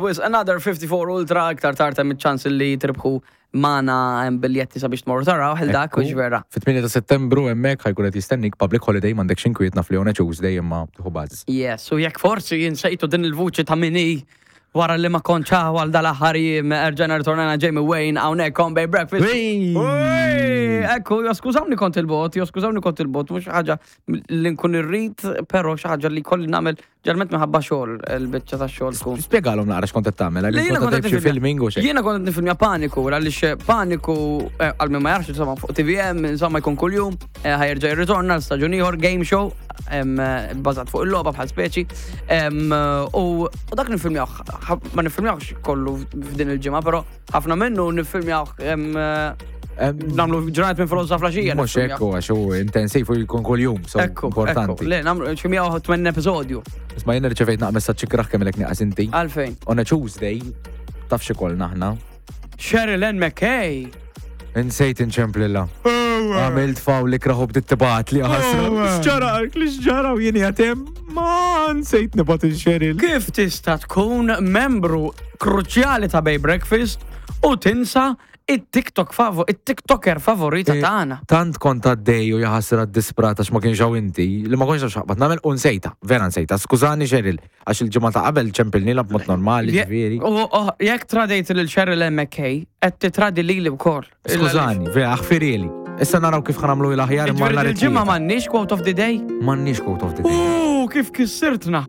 wisq another 54 Ultra iktar tard hemm iċ-ċans li tirbħu magħna hemm biljetti sabiex tmorru taraw ħil dak hux vera. Fit-8 ta' Settembru hemmhekk ħa jkun qed jistennik public holiday m'għandekx inkwiet naf li on a Tuesday imma tieħu buzz. Yes, u jekk forsi insejtu din il-vuċi ta' min hi wara li ma kontx hawn għal dal-aħħar jiem erġajna rritornajna Jamie Wayne hawnhekk on Bay Breakfast. Wey! Ekku, jo skużawni kont il-bot, jo skużawni kont il-bot, mhux ħaġa li nkun irrid, però xi ħaġa li kolli nagħmel Ġerment minħabba xogħol, il-biċċa ta' xogħol tkun. Spjegalhom naqra x'kont qed tagħmel, għaliex kont qed xi filming u xejn. Jiena kont qed nifilmja Paniku, għaliex Paniku eh, għal min ma jafx insomma fuq TVM, insomma jkun kuljum, eh, ħajerġa' jirritorna l-staġun ieħor game show eh, bbażat fuq il-logħba bħal speċi. U dak nifilmjawh, ma nifilmjawhx kollu f'din il-ġimgħa, però Ħafna minnu niffilmjaw namlu ġranet minn filgħodu sa flaxija. Mhux hekk għax hu intensiv u jkun kuljum, so importanti. Le, nagħmlu xi 108 episodju. Isma' jien rċevejt naq messaġġ ikraħ kemm ilek nieqas inti. Għalfejn. On a Tuesday, taf xi kollna aħna. Cheryl Ann McKay. Insejt inċemplilla. Għamilt faw li kraħu bdiet tibgħat li ħasra. X'ġara li x'ġara u jien jatem ma nsejt nibgħat il-Cheryl. Kif tista' tkun membru kruċjali ta' Bay Breakfast u tinsa it-TikTok favo, it-TikToker favorita eh, tagħna. Tant kont għaddej u jaħasra disprata għax ma kienx hawn inti, li ma kontx xaqbad nagħmel u nsejta, vera nsejta. Skużani Cheryl, għax il-ġimgħa ta' qabel ċempilni la b'mod normali, ġifieri. Oh, jekk tradejt lil Cheryl McKay, qed titradi lili wkoll. Skużani, vera, aħfirili. Issa naraw kif ħanamlu l-aħjar imma nhar Il-ġimgħa m'għandniex quote of the day? M'għandniex quote of the day. U kif kissirtna!